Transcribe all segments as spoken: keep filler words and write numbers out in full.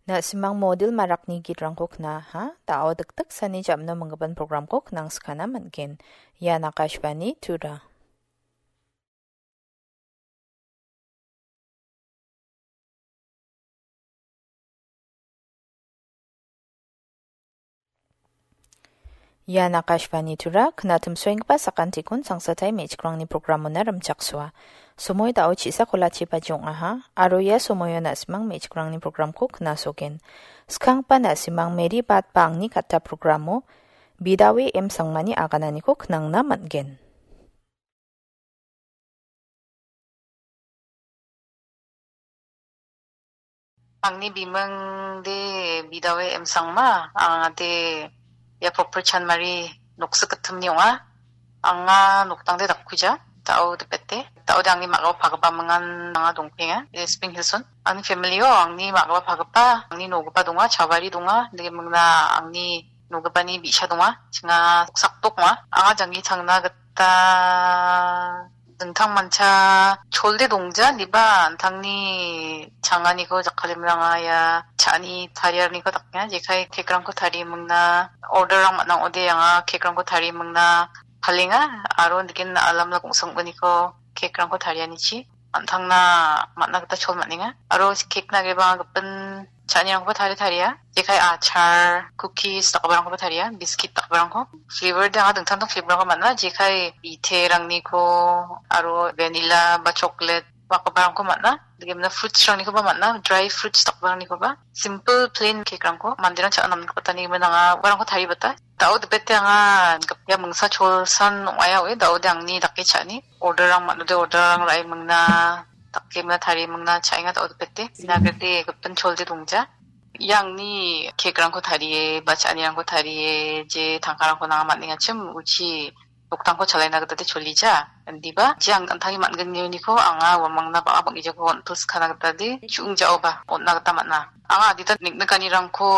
Na·simang model marakni gitrangko knaha, da·o dikdiksani jamno minggipan programko knangskana man·gen. Ian Akashvani Tura. Ian Akashvani Tura, knatimsoenggipa sakantikon sangsatai me·chikrangni programona rimchaksoa. Somoi da·o chisa kolachi baji ong·aha, aro ia somoio na·simang me·chikrangni programko knasogen. Skanggipa na·simang Mary Bat ba angni katta programo Bidawe M Sangmani agananiko knangna man·gen. Angni biming de Bidawe M Sangma, anga de ia Proper Chanmari noksik gittimni ong·a. Anga noktangde dakkuja, da·o dipete. Da·ode angni ma·gipa pagipa mingan anga dongpenga, eh, Spring Hills-on. Angni family-o angni ma·gipa pagipa, angni nogipa donga, chavari donga, dike mingna angni nogipani bi·sa donga, chinga sakdok ong·a. Anga janggi changna gita dingtangmancha cholde dongja, indiba an·tangni changaniko jakkalemranga ia cha·ani tariaraniko dakenga, jekai cake-rangko tarie mingna order-rang man·a ong·ode, anga cake-rangko tarie mingna palenga, aro nigen alamla gongsongboniko cake-rangko tarianichi an·tangna man·a gita chol man·enga. Aro cake-na geba gipin cha·anirangkoba tarie taria. Jekai achar, cookies dakgiparangkoba taria, biscuit dakgiparangko. Flavor de anga dingtang dingtang flavor-rangko man·a, jekai biterangni ko, aro vanilla ba chocolate dakgiparangko man·a. Dikemna fruits-rangnikoba man·a, dry fruits dakgiparangnikoba. Simple plain cake-rangko manderang cha·na namgipa tani gimin anga uarangko taribata. Da·o dipete anga ia mingsa cholsan ong·aia oe, da·ode angni dake cha·ani. Order-rang man·ode order-rang ra·e mingna, dake mingna, tarie mingna cha·enga da·o dipete. Ina gate gipin cholde dongja. Ia angni cake-rangko tarie, ba cha·anirangko tarie, je tangkarangko nanga man·engachim, uchi noktangko chalaina gita de cholija. Indiba, je ang an·tangni man·gnioniko anga uamangna ba·a bang·gijako on·pilskana gita de, chu·ingjaoba on·na gita man·a. Anga adita niknikanirangko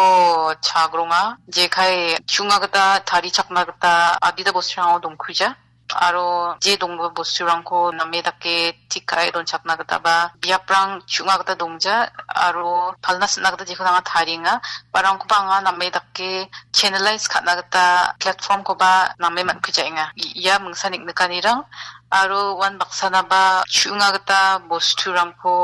chagronga, jekai chu·nga gita tarichakna gita adita bosturang·o dongkuja. Aro je donggipa bosturangko name dake tik ka·e donchakna gita ba biaprang chu·nga gita dongja, aro palna sina gita jekon anga tarienga. Barangkoba anga name dake channelize ka·na gita platform-koba name man·kujaenga. I-, ia mingsa niknikanirang aro uan baksanaba chu·nga gita bosturangko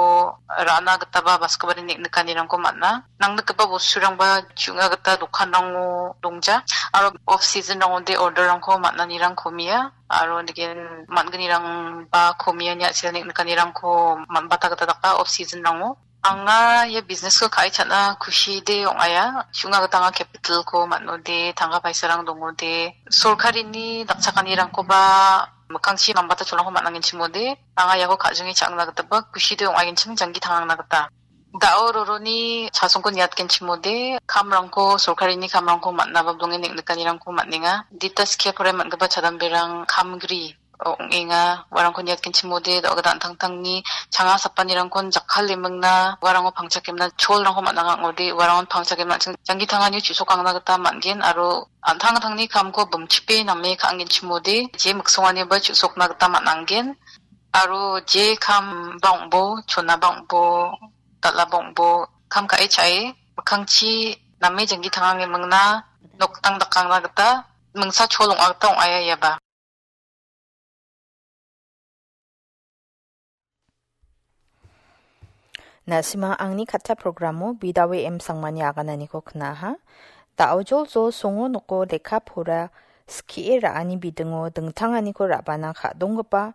ra·na gitaba baskobari niknikanirangko man·a. Nangnikgipa bosturangba chu·nga gita dokanrango dongja, aro off season-rangode order-rangko man·anirang komia, aro nigen man·gnirangba komia ine a·sela niknikanirangko man·bata gita daka off season-rango. Anga ia business-ko ka·e cha·na kushide ong·aia. Chu·nga gita anga capital-ko man·ode, tangka paisarang dongode, sorkarini dakchakanirangkoba mikkangchi mambata cholangko man·angenchimode, anga iako ka·jinge cha·angna gitaba kushide ong·agenchim janggi tangangna gita. Da·o roroni chasongko niatgenchimode, kamrangko, sorkarini kamrangko man·naba donge neng·nikanirangko man·enga. Dita skie porai man·gipa chadamberang kamgri ong·enga. Uarangko niatgenchimode, da·o gita an·tangtangni changa sapanirangkon jakkalemingna, uarango pangchakemna cholrangko man·angaode, uarangon pangchakemna an·ching janggi tangani chu·sokangna gita man·gen, aro an·tangtangni kamko bimchipe name ka·angenchimode, je miksonganiba chu·sokna gita man·angen, aro je kam bang·bo, chona bang·bo, dal·a bang·bo, kam ka·e cha·e, mikkangchi name janggi tangangemingna, noktang dakangna gita, mingsa chol ong·a gita ong·aia iaba. Na·simang angni katta programo Bidawe M Sangmani agananiko knaha. Da·o joljol songo noko lekka pora skie ra·ani bidingo dingtanganiko ra·bana ka·donggipa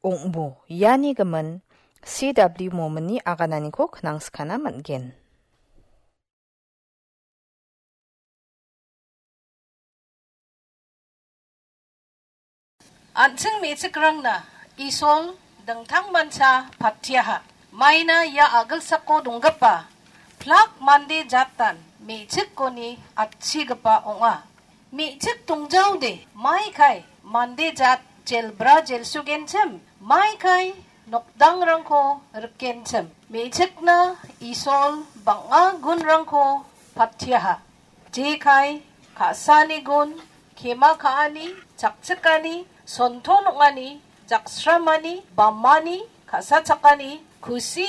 ong·bo. Iani gimin C W Momini agananiko knangskana man·gen. An·ching me·chikrangna Isol dingtangmancha patiaha. Maina ia a·gilsako donggipa plak mande jatan me·chikkoni atchigipa ong·a. Me·chik dongjaode, maikai mande jat jelbra jelsugenchim, maikai nokdangrangko rikenchim. Me·chikna Isol bang·a gunrangko patiaha. Jekai ka·sani gun, kema ka·ani, chakchikani, sonton ong·ani, jaksramani, bamani, ka·sachakani, kusi